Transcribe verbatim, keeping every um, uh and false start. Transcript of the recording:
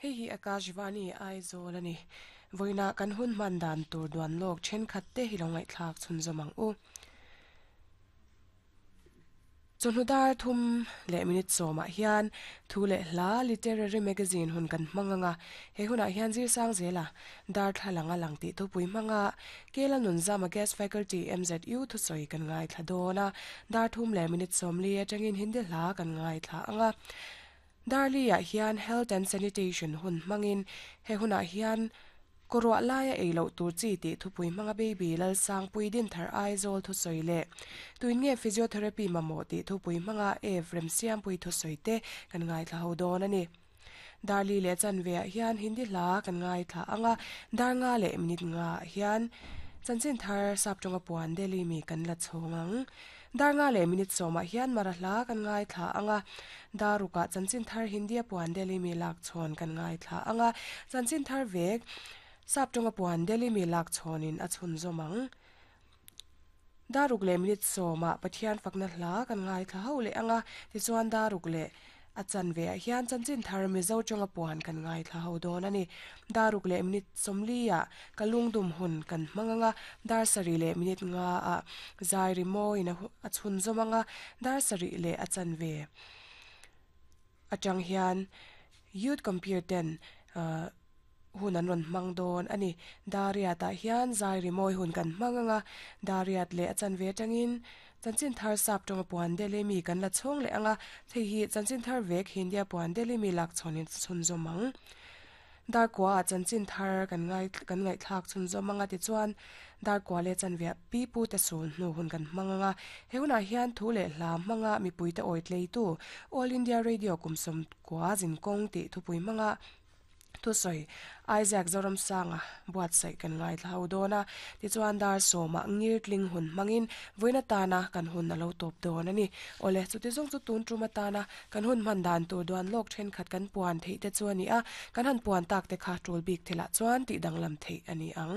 Hei hi Akashvani Aizawl ani. Voina kan hun man dan tur duan lok then khat te hi lo ngai thlak chhun zomang u. Chunhudar thum le minute soma hian thu le hla literary magazine hun kan manganga he huna hian zir sang zela dar thalanga lang ti thu pui manga kela nun zama guest faculty M Z U thu soi kan ngai thladona dar thum le minute som li atangin hindi hla kan ngai thla anga darli ah hian health and sanitation hun mangin he huna hian korwa laia eilo tur chi ti thupui manga baby lal sang pui din thar Aizawl thu soi le tuin nge physiotherapy mamo ti thupui manga e frem siam pui thu soi te kan ngai thla ho don ani darli le chan ve hian hindi hla kan ngai thla anga dar nga le minute nga hian chanchin thar sap tonga puan deli mi kan la chhongang dar nga le minute soma hian mara hla kan ngai thla anga daruka chanchin thar hindi puan deli mi lak chhon kan ngai thla anga chanchin thar vek sap tonga puan deli mi lak chhonin a chhun zomang daruk le minute soma pathian fakna hla kan ngai thla ho le anga ti chuan daruk le a chan ve ah hian chanchin thar mizo tonga puan kan ngai thla ho don ani daruk le minute somlia kalungdum hun kan manganga dar sari le minute nga a zairi moi na a chhun zomanga dar sari le a chan ve atang hian youth compare ten hun an ron mang don ani daria ta hian zairi moi hun kan manganga dariat le achan ve tangin chanchin thar sap tonga puan dele mi kan la chhong le anga thei hi chanchin thar vek hindia puan dele mi lak chhonin chhun zomang dar kwa chanchin thar kan ngai kan ngai thlak chhun zomanga ti chuan dar kwa le chan ve pi pu te sul hnu hun kan manganga heuna hian thu le hla manga mi pui te oi tlei tu All India Radio kumsom kwa jin kong ti thupui manga thu soi Isaac Zoram sanga buat sai kan ngai thlau dona ti chuan dar soma ngir tling hun mangin voina tana kan hun na lo top don ani ole chu ti zong chu tun tuma tana kan hun man dan tur duan lok then khat kan puan thei te chuani a kan han puan tak te kha tul bik thela chuan ti danglam thei ani ang.